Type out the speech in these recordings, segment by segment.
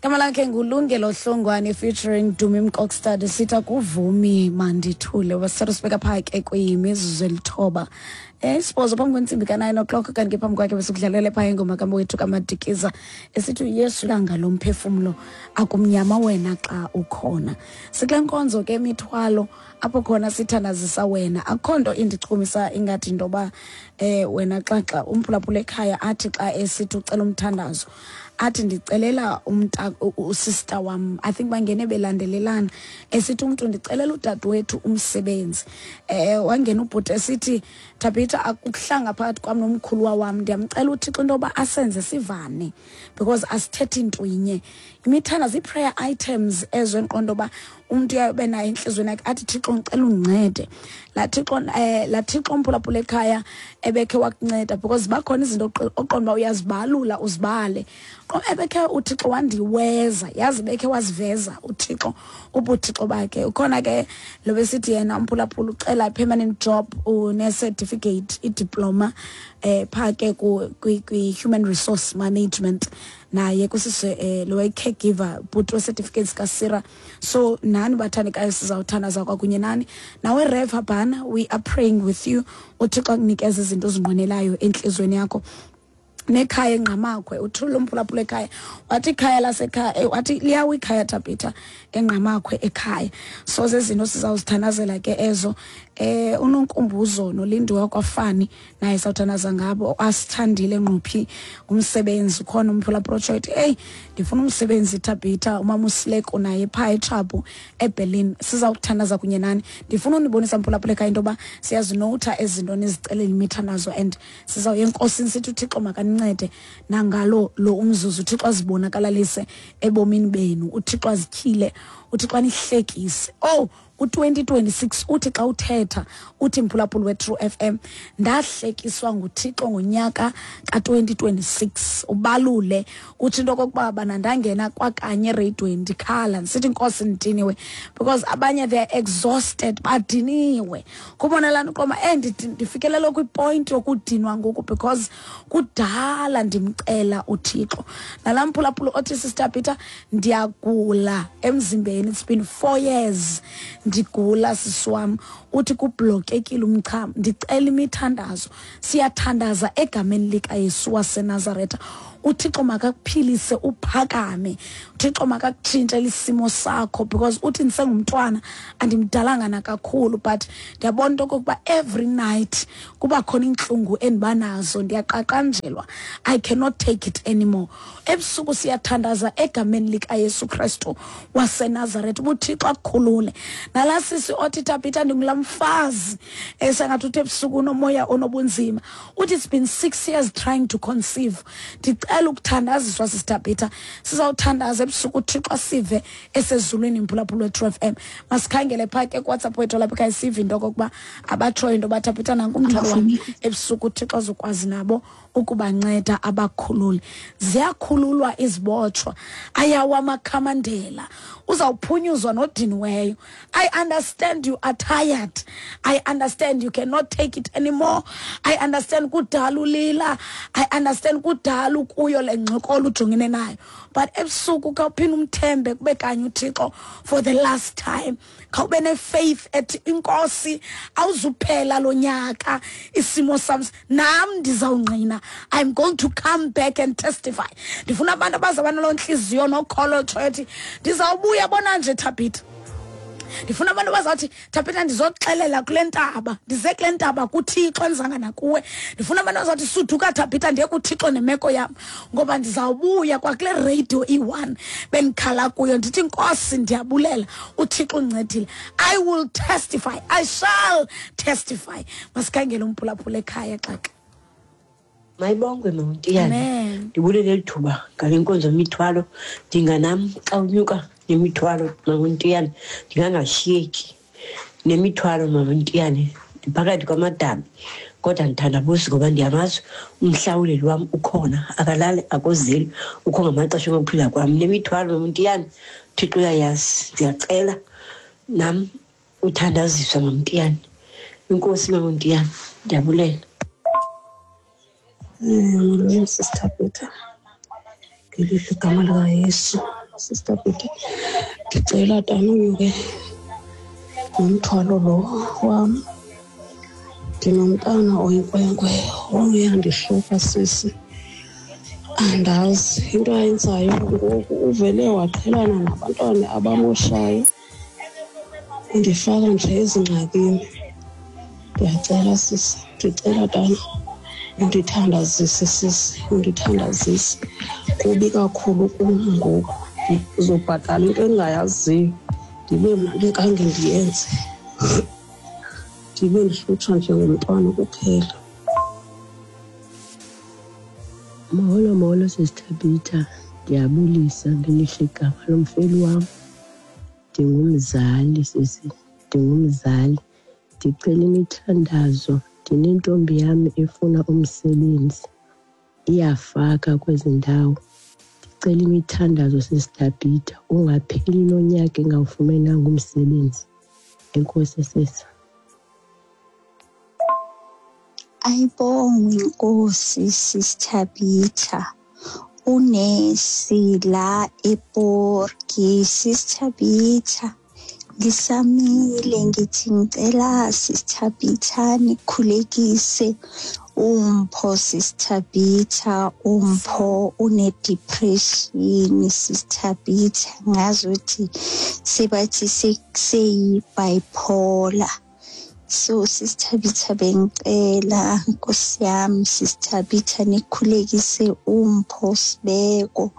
Igama lakhe nguLungelo Hlongwane featuring Dumi Mkokstad, sithi akuvumi mandithule. Wasithatha sibeka phaa ke kwimizuzu elithoba isibhozo phambi kwentsimbi ka-9 o'clock. Kanti ke phambi kwakhe besikudlalele phaa ingoma kamwethu kaMadikiza esithi uYesu langa lomphefumlo, akumnyama wena xa ukhona. Sikule nkonzo ke imithwalo, apho khona sithandazisa wena. Akukho nto indichumisa ingathi into yoba wena xa umphulaphula ekhaya athi xa esithi ucela umthandazo, athi ndicelela umnta usister wam. I think bangene belandelelana, esithi umntu ndicelela udadewethu umsebenzi. Wangena ubhuti esithi, Thabitha, akukuhlanga phakathi kwam nomkhuluwa wam, ndiyamcela uThixo into yoba asenze sivane because asithethi nto inye. Imithandazo, ii-prayer items ezo endiqonda uba umntu uyabe nayo entliziyweni yakhe, athi, Thixo, ndicela undincede. Laa Thixo, laa Thixo umphulaphula ekhaya ebekhe wakunceda, because bakhona izinto oqonda uba uyazibalula uzibale. Ebekhe uThixo wandiweza, yazi bekhe waziveza uThixo ubuthixo bakhe. Ukhona ke lo besithi yena umphulaphula ucela permanent job, une-certificate, idiploma phaa ke kwi-human resource management, naye kusise lo caregiver bhuti we-certificates kaSira. So nani bathandekayo, sizawuthandaza kwakunye nani. Nawe Rev Habana, we are praying with you, uThixo akunikeze izinto ozinqwenelayo entliziyweni yakho. Nekhaya eNgqamakhwe, uthule umphulaphula ekhaya wathi ikhaya lasekhaya, wathi liyawa ikhaya, Tabitha, eNgqamakhwe ekhaya. So zezinto sizawuzithandazela ke ezo. Unonkumbuzo nolindiwe kwafani naye sawuthandaza ngabo. Asithandile ngquphi umsebenzi, ukhona umphulaphula otsho ethi, eyi, ndifuna umsebenzi, Tabitha. Umama uSileko naye phaa eTshabu eBerlin, sizawuthandaza kunye nani. Ndifuna unibonisa, mphulaphula ekhaya, into yoba siyazinowutha ezi zinto nizicelela imithandazo and sizawuya enkosini sithi uThixo makanincede nangalo lo umzuzu, uThixo azibonakalalise ebomini benu, uThixo azityhile, uThixo anihlekise. Oh, u-2026 uthi xa uthetha uthi, mphulaphula we-True FM, ndahlekiswa nguThixo ngonyaka ka-2026. Ubalule utsho into okokuba bana ndangena kwakanye ereyidweni ndikhala ndisithi, Nkosi, ndidiniwe, because abanye they are exhausted, badiniwe. Kubona laa nto uqoma ndifikelela kwipoint yokudinwa ngoku because kudala ndimcela uThixo. Nalaa mphulaphula othi, Sister Peter, ndiyagula emzimbeni, it's been 4 years ndigula, sisi wam, uthi kublokekile umchamo, ndicela imithandazo. Siyathandaza egameni likaYesu waseNazaretha, uThixo makakuphilise uphakame, uThixo makakutshintshele isimo sakho, because uthi ndisengumntwana, andimdalanga nakakhulu, but ndiyabona into okokuba every night kuba khona iintlungu endiba nazo, ndiyaqaqanjelwa, I cannot take it anymore ebusuku. Siyathandaza egameni likaYesu Kristu waseNazaretha uba uThixo akukhulule. Nalaa sisi othi, Tabitha, ndingulaa mfazi esengathi uthi ebusuku unomoya onobunzima, uthi it's been 6 years trying to conceive, ndicela ukuthandaziswa, sisi Tabitha. Sizawuthandaza ebusuku, uThixo asive esezulwini. Mphulaphula we-True FM, masikhangele phaa ke kuWhatsApp wethu lapha ekhaya, sive into okokuba abatshoyo into yoba, Tabitha, nanku umthwalo wam ebusuku, uThixo azokwazi nabo ukubanceda abakhulule. Ziyakhululwa izibotshwa, ayawa amakhamandela, uzawuphunyuzwa nodiniweyo. I understand you are tired, I understand you cannot take it anymore, I understand kudala ulila, I understand kudala ukuyo le ngxokolo ujongene nayo, but ebusuku khawuphinde umthembe kube kanye uThixo for the last time. Khawube nefaith ethi, inkosi, awuzuphela lo nyaka isimo sam nam ndizawungqina. I'm going to come back and testify. Ndifuna abantu abazawuba naloo ntliziyo nokholo tsho ethi, ndizawubuya bona nje, Thabitha. Ndifuna abantu abazawuthi, Thabitha, ndizoxelela kule ntaba, ndize kule ntaba kuThixo endizanga nakuwe. Ndifuna abantu abazawuthi, suduka, Thabitha, ndiye kuThixo nemeko yam, ngoba ndizawubuya kwakule radio iyi-one bendikhala kuyo, ndithi, Nkosi, ndiyabulela, uThixo undincedile. I will testify, I shall testify. Masikhangele umphulaphula ekhaya xaxa. Mayibongwe, Mawuntiyane. Amen. Ndibulele eli thuba ngale nkonzo yemithwalo. Ndinganam xa unyuka nemithwalo, Mawuntiyane, ndingangashiyeki nemithwalo, Mawuntiyane. Ndiphakathi kwamadabi, kodwa ndithandabuzi ngoba ndiyamazi umhlawuleli wam ukhona, akalali, akozeli, ukho ngamaxesha okuphila kwam. Nemithwalo, Mawuntiyane, Thixo uyayazi. Ndiyacela nam uthandaziswa, Mamntiyane. Inkosi, Mamntiyane, ndiyabulela. Molweni, Sister Peter. Ngelihle igama likaYesu. Sister Peter, ndicela tana unyuke nomthwalo lo wam. Ndinomntana oyinkwenkwe oyandihlupha sisi. Andazi into ayenzayo ngoku, uvele waqhelana nabantwana abamoshayo, undifaka nje ezingxakini. Ndiyacela sisi, ndicela tana undithandazise sisi, undithandazise. Kubi kakhulu kum ngoku, ndizobhatala into endingayaziyo, ndibe mna ndingange ndiyenze, ndibe ndihlutshwa nje ngumntwana kuphela. Molo, molo sisiThabitha, ndiyabulisa ngelihle igama lomfeli wam. Ndingumzali sisi, ndingumzali. Ndicela imithandazo, ndinentombi yam efuna umsebenzi, iyafaka kwezi ndawo. Ndicela imithandazo sisiThabitha, ungapheli lo nyaka engawufumenanga umsebenzi. Enkosi sisi. Ayibongwe inkosi sisiThabitha, unesi la ePorki. SisiThabitha, ngisamile ngithi ngicela sisiThabitha nikhulekise uMpho. SisiThabitha, uMpho une-depression sisiThabitha, ngazuthi sebathi seyi-bipolar. So sisiThabitha, bengicela nkosi yami sisiThabitha nikhulekise uMpho Sibeko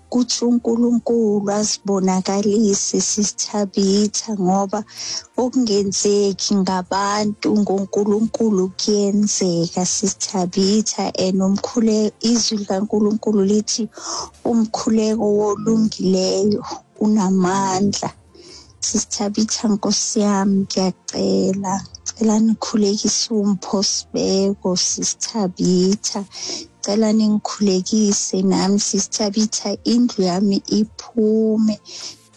kuthi uNkulunkulu azibonakalise sisiThabitha, ngoba okungenzeki ngabantu ngoNkulunkulu kuyenzeka sisiThabitha. And umkhuleko, izwi likaNkulunkulu lithi umkhuleko wolungileyo unamandla. SisiThabitha nkosi yami, ngiyacela, cela nikhulekise uMpho Sibeko sisiThabitha, cela ningikhulekise nami sisiThabitha, indlu yami iphume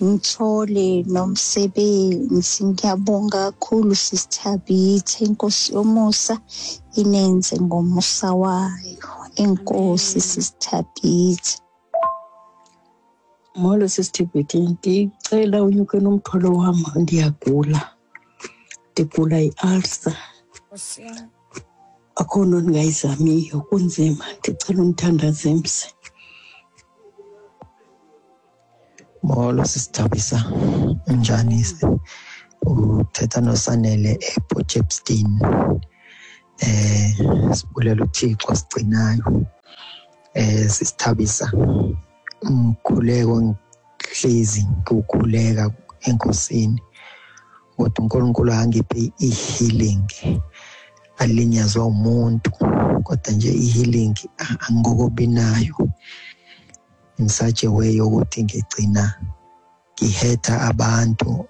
ngithole nomsebenzi. Ngiyabonga kakhulu sisiThabitha, inkosi yomusa inenze ngomusa wayo. Enkosi sisiThabitha. Molo sisiThibhithi, ndicela unyuke nomthwalo wam, ndiyagula, ndigula i-ulcer. Akho nto ndingayizamiyo, kunzima. Ndicela undithandaze mse. Molo sisiThabisa, unjani? Uthetha noSanele ePort. Sibulela uThixo sigcinayo. SisiThabisa, umkhuleko ngihlezi ngiwukhuleka enkosini, kodwa uNkulunkulu angiphe i-healing. Alinyazwa umuntu, kodwa nje i-healing angikobi nayo in such a way yokuthi ngigcina ngihetha abantu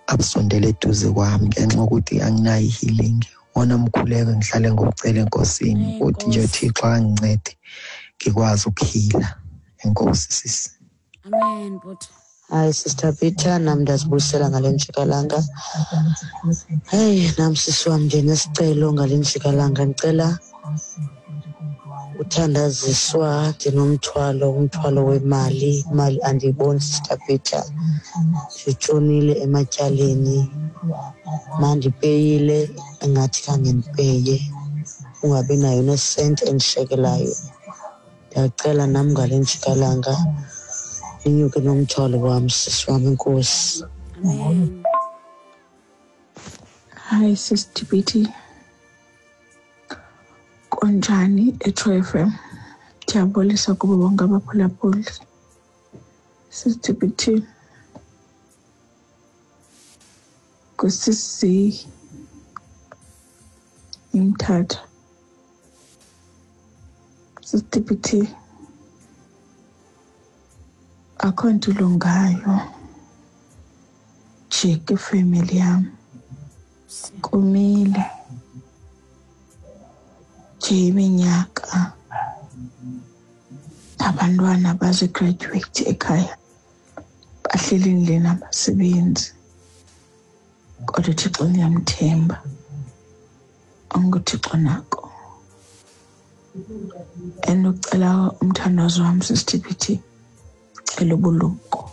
abasondele eduze kwami ngenxa yokuthi anginayo i-healing. Wona mkhuleko ngihlale ngokucela enkosini ukuthi nje Thixo angincede ngikwazi ukuhila. Enkosi sisi. Amen bhuti. Hayi Sister Peter, nam ndiyazibulisela ngale njikalanga. Heyi, nam sisi wam ndinesicelo ngale njikalanga, ndicela uthandaziswa. Ndinomthwalo, umthwalo wemali, imali andiyiboni Sister Peter, nditshonile ematyaleni, mandipeyile engathi khange ndipeye, ungabi nayo nesenti endishekelayo. Ndiyacela nam ngale njikalanga inyuke nomthwalo wam sisi wam, enkosi. Amen. Hi Sis TBT. Kunjani eTrue FM? Ndiyabulisa kubo bonke abaphulaphuli. Sis TBT. Kusisi iMthatha. Sis TBT. Akho nto ilungayo nje kwifemeli yam. Kumile nje iminyaka abantwana bazigraduate ekhaya, bahleli endlini abasebenzi, kodwa uThixo ndiyamthemba, unguThixo nako. And ucela umthandazo wam sisiTBT, cela ubulumko.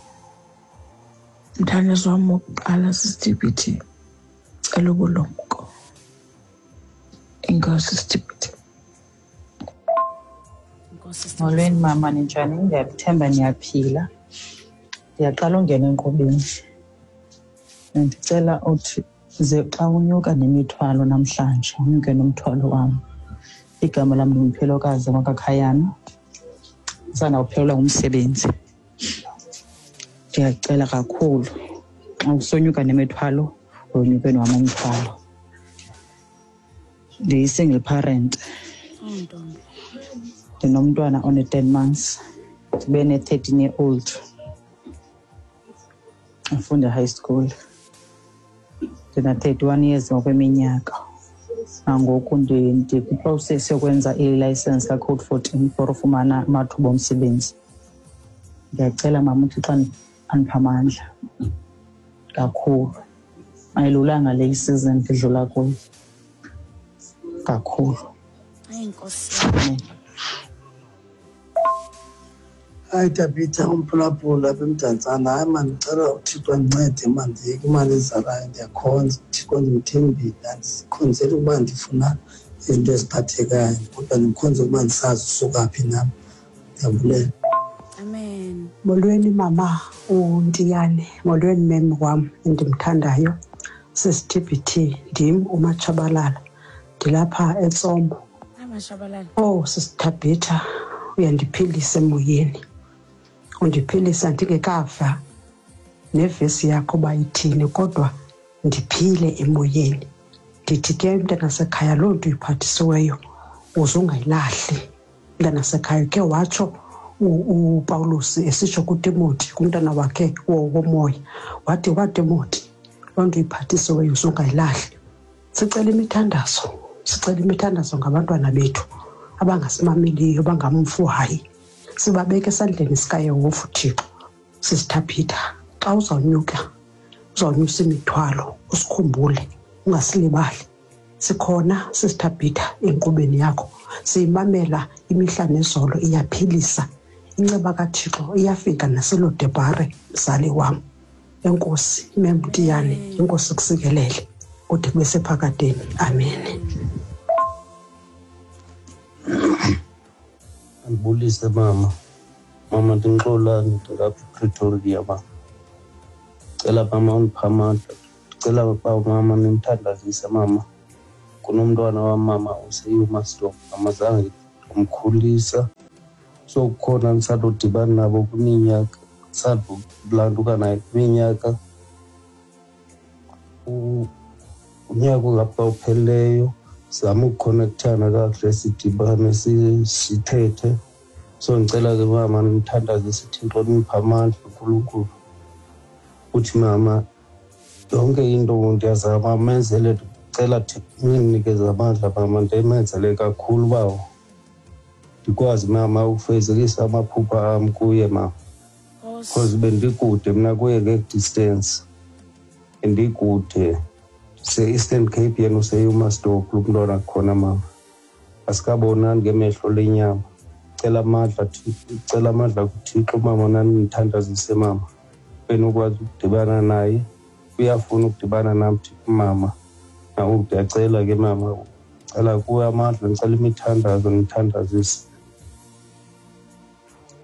Umthandazo wam wokuqala, sisiTibiti, cela ubulumko. Enkosi, Sitibiti. Molweni mama, ninjani? Ndiyathemba niyaphila. Ndiyaqala ungena enkqubeni. Ndicela uthi ze xa unyuka nemithwalo namhlanje unyuke nomthwalo wam. Igama lam ndinguPhelokazi wakwaKhayana, ndisandawuphelelwa ngumsebenzi. Ndiyacela kakhulu, xa usonyuka nemithwalo unyuke nowam umthwalo. Ndiyi-single parent, ndinomntwana one-10 months, ndibe ne-13 year old afunda high school. Ndina-31 years ngokweminyaka. Nangoku ndikwiprocess yokwenza ilayisensi kaCode 14 for ufumana amathuba omsebenzi. Ndiyacela mama uThixo andiphe amandla kakhulu. Ayilulanga le isizini ndidlula kuyo kakhulu. Hayi, Nkosi. Amen. Hayi Tabitha, umphulaphula apha eMdantsane. Hayi mani, ndicela uThixo andincede mani, ndiyeke imali ezalayo. Ndiyakhonza uThixo, ndimthembile. Andikhonzeli ukuba ndifuna izinto eziphathekayo, kodwa ndimkhonza ukuba ndisazi usuka phi nam. Ndiyabulela. Amen. Molweni mama uNtiyane, molweni mem wam endimthandayo, sisiTBT, ndim uMatshabalala, ndilapha eTsomo. Hayi, Mashabalala. Oh sisiThabitha, uyandiphilisa emoyeni, undiphilisa ndingekava nevesi yakho uba ithini, kodwa ndiphile emoyeni. Ndithi ke mntanasekhaya, loo nto uyiphathisiweyo uze ungayilahli mntanasekhaya. Ke watsho uPawulos esitsho kuTimoti, kumntana wakhe womoya, wathi waTimoti, loo nto uyiphathisiweyo uze ungayilahli. Sicela imithandazo, sicela imithandazo ngabantwana bethu abangasimameliyo, bangamfuhayi. Sibabeke esandleni sikaYehova uThixo. Sisithaphitha, xa uzawunyuka, uzawunyusa imithwalo, usikhumbule, ungasilibali. Sikhona sisithaphitha enkqubeni yakho, siyimamela imihla nezolo, iyaphilisa. Inceba kaThixo iyafika naselodebhare, mzali wam. Enkosi memntiyane, inkosi kusikelele kude kube sephakadeni. Amen. Andibulise mama. Mama, ndinxolani, ndilapha ePretoria mama. Cela mama undiphe amandla. Ndicela uba mama nimthandazise mama. Kunomntwana wam mama useYumasdorp, mama zange ndamkhulisa. So kukhona ndisandodibana nabo kwiminyaka, ndisandolanduka naye kwiminyaka. Unyaka ongapha uphelileyo sizame ukukhonekthana kakuhle, sidibane sithethe. So ndicela ke mama nimthandazise, Thixo niphe amandla uNkulunkulu. Uthi mama yonke into ndiyazama menzele, ndicela Thixo nindinikeze amandla mama, ndimenzele kakhulu bawo, ndikwazi mama ukufezekisa amaphupha am kuye mama, because bendikude mna kuye nge-distance, bendikude se-Eastern Cape, yena useYumasdorp lo mntwana khona mama, asikabonani ngemehlo lenyama. Cela amandla, cela amandla kuThixo mama, nani nithandazise mama, benokwazi ukudibana naye. Uyafuna ukudibana nam mama, ndiyacela ke mama, cela kuwe amandla, ndicela imithandazo, nithandazise,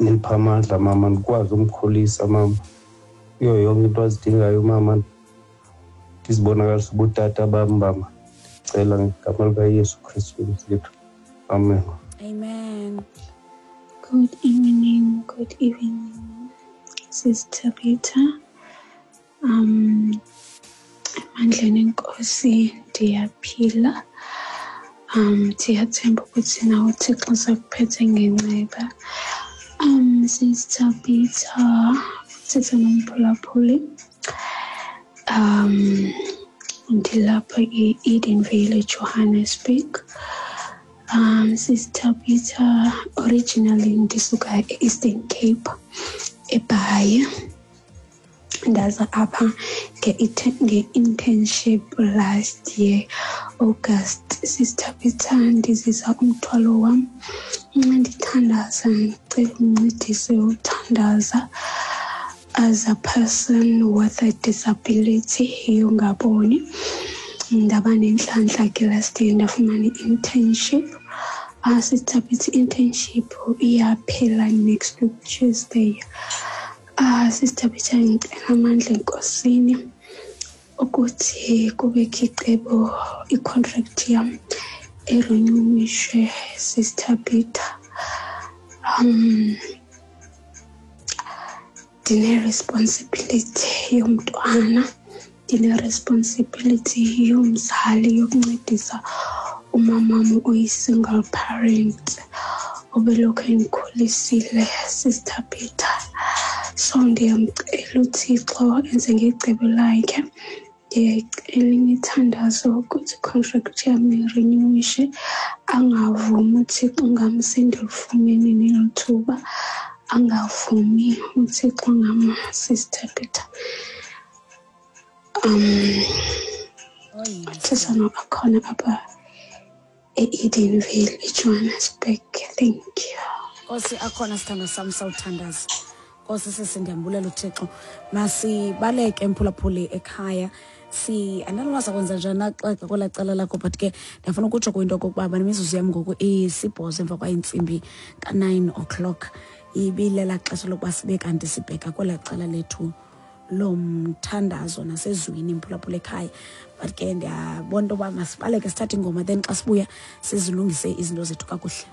nindiphe amandla mama, ndikwazi umkhulisa mama kuyo yonke into azidingayo mama, ndizibonakalisa ubutata bam mama. Ndicela ngegama likaYesu Kristu wethu, amen. Amen. Good evening, good evening, Sister Peter. Emandleni enkosi ndiyaphila. Ndiyathemba ukuthi nawe uThixo usakuphethe ngenceba. Sister Peter, uthetha nomphulaphuli. Ndilapha e-Edenvale, Johannesburg. Sister Peter, originally ndisuka e-Eastern Cape, eBhayi. Ndaza apha nge-internship last year August. Sister Peter, ndizisa umthwalo wam. Nxa ndithandaza, ndicela undincedise uthandaza. As a person with a disability yongaboni, ndaba nenhlanhla ke last year ndafumana i-internship. Sister Thabitha, i-internship iyaphela next week Tuesday. Sister Thabitha, ngicela amandla enkosini ukuthi kubekho icebo, i-contract yam irenewishwe, Sister Thabitha. Ndine-responsibility yomntwana, ndine-responsibility yomzali yokuncedisa umamam oyi-single parent obelokhu endikhulisile, Sister Peter. So ndiyamcela uThixo enze ngecebo lakhe. Ndiyayicela imithandazo ukuthi i-contract yam irenewishe, angavumi uThixo ngam sendilifumene neli thuba, angavumi uThixo ngam, Sister Peter. Uthetha noAkhona apha e-Edenvale, eJohannesburg. Thank you. Nkosi Akhona, sithando sam, sawuthandaza. Nkosi sisi, ndiyambulela uThixo. Masibaleke, mphulaphuli ekhaya. Si andalwazi kwenza njani naxexa kwelaa cala lakho, but ke ndiyafuna ukutsho kwinto okokuba banemizuzu yam ngoku isibhozo emva kwayintsimbi ka-9 o'clock. Ibilela xesha lokuba sibe kanti sibheka kwelaa cala lethu lomthandazo nasezwini, mphulaphula ekhaya. But ke ndiyabona into yoba masibaleke sithathe ingoma, then xa sibuya sizilungise izinto zethu kakuhle.